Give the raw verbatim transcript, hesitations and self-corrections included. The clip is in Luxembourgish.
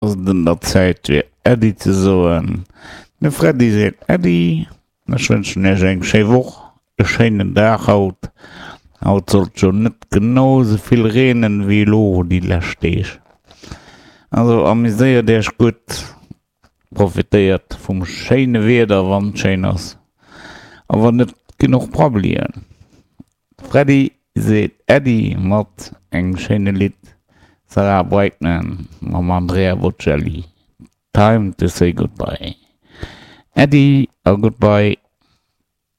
Ass et un der Zäit fir Äddi ze soen. De Freddy seet Äddi. Ech wënschen iech eng schéi Woch, e schéinen Dag haut. Haut sollt jo net genau sou vill reenen wéi elo déi lescht Deeg. Also amuséiert iech gutt, profitéiert vum schéine Wieder wann et schéin ass a wann net ginn och Prabbelien. De Freddy seet Äddi mat engem schéine Lidd, Sarah Brightman mam Andrea Bocelli, Time to say goodbye. Äddi a goodbye.